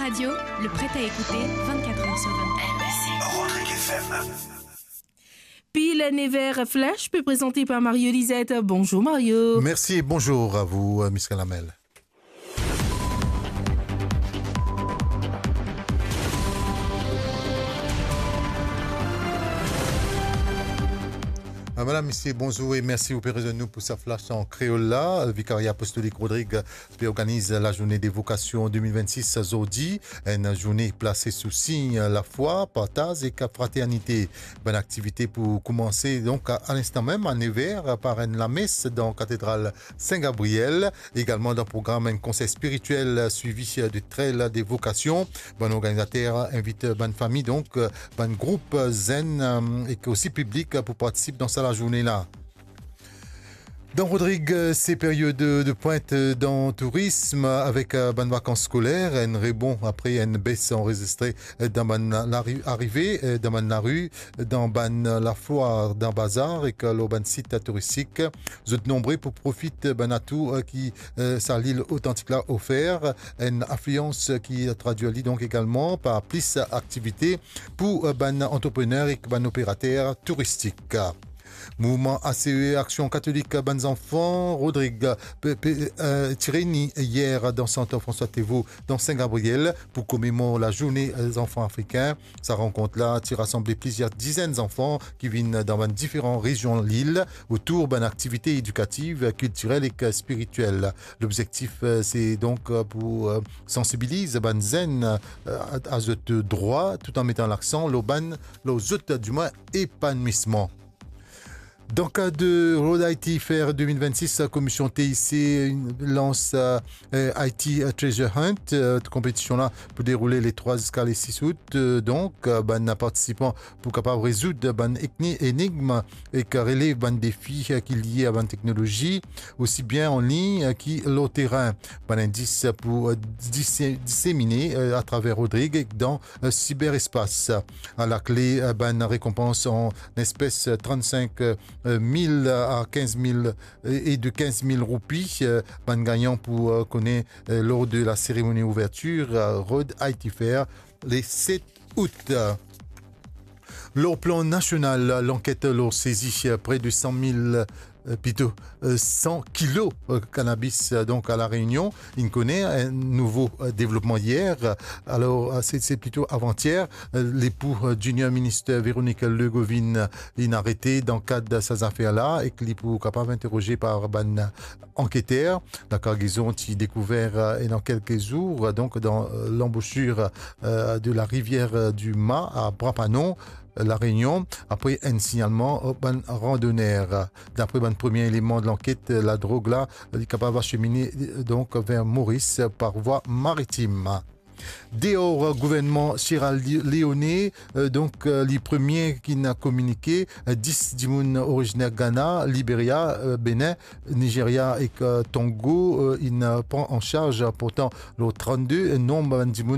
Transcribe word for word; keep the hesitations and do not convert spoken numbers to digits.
Radio, le prêt à écouter vingt-quatre heures sur vingt-quatre. Rodrigue F M. Pil nev er flash pe prezante par Mario Lisette. Bonzour Mario. Merci et bonjour à vous, euh, Miss Kalamel. Ah, madam, misie, bonzour e mersi ou pe rezwenn nou pou sa flash an kreol la. Vikaria Apostolik Rodrig pe organiz lazourne de vokasion de mil vennsis zordi, enn zourne plase sou sign lafwa, partaz ek fraternite. Bann aktivite pou koumanse donk a, a linstan mem, a nev er, par enn lames dan katedral Sin Gabriel. Egalman dan program enn konsey spiritiel swivi de trail de vokasion. Bann organizater invit bann fami, donk, bann group zenn, e osi piblik pou partisip dan sa lazourne la. Dan Rodrig, se period de pwint dan tourism avek bann vakans skoler, enn rebon apre enn bes anrezistre dan bann lari, arive dan bann lari, dan bann lafwar, dan bazar ek lor bann sit touristik. Zot nonbre pou profit bann atou, eh, ki, eh, sa lil otantik la ofer, enn aflians ki tradwir li donk egalman par plis aktivite pou, eh, bann antreprener ek bann operater touristik. Mouvman A C E, Aksion Katolik Bann Zanfan, Rodrig, pe, pe, eh, ti reyni yer dan sant François Théveaux, dan Sin Gabriel, pou komemor lazourne, eh, zanfan afrikin. Sa rankont la ti rasanble plizier dizenn zanfan ki vinn dan bann diferan rezion lil otour bann aktivite edikativ, kiltirel ek spiritiel. Lobzektif, eh, se donk, eh, pou, eh, sansibiliz bann zenn, eh, a, a zot drwa, tout an metan laksan lor bann, lor zot, dimwin, epanouisman. Dan kad Road Haiti Fair de mil vennsis, Komision T I C lans, eh, Haiti Treasure Hunt. Eh, konpetision la pou deroule le trwa ziska le sis out. Eh, donk, eh, bann partisipan pou kapav rezoud bann ekni-, enigm ek relev bann defi, eh, ki lie a bann teknolozi, osi bien an lign, eh, ki lor terin. Bann indis pou, eh, dise-, disemine, eh, atraver Rodrig ek dan, eh, siberespas. Alakle, eh, bann rekonpans an espes, eh, trant-sink mil a kinz mil, eh, e de kinz mil roupi, eh, bann gagnan pou, eh, kone, eh, lor de la seremoni ouvertir, eh, Road Haiti Fair, le set out. Lor plan nasional, lanket lor sezi, eh, pre de san mil, eh, plito, eh, san kilo, eh, kanabis, eh, donk a La Reunion. Inn kone enn nouvo, eh, devlopman yer. Alor, eh, se, se plito avantier, eh, lepou, eh, Junior Minister Véronique Legauvin, eh, inn arete dan kad sa zafer la ek li pou kapav interoze par bann anketer. Lakargezon ti dekouver, eh, dan kelke zour, eh, donk dan, eh, lanbosir, eh, de la rivière, eh, du Mâ a Bras-Panon, eh, La Réunion, apre enn signalman, eh, bann randoner. Dapre bann premie eleman de lanket, eh, ladrog la, eh, li kapav asemine, eh, donk ver Moris, eh, par vwa maritim. Deor, eh, gouvernman Sierra Leone, eh, donk, eh, li premie ki'nn kominike, eh, dis dimoun oriziner Ghana, Liberia, eh, Benin, Nigeria ek, eh, Togo, eh, inn pran an sarz, portan lor trannde, eh, nonb bann dimoun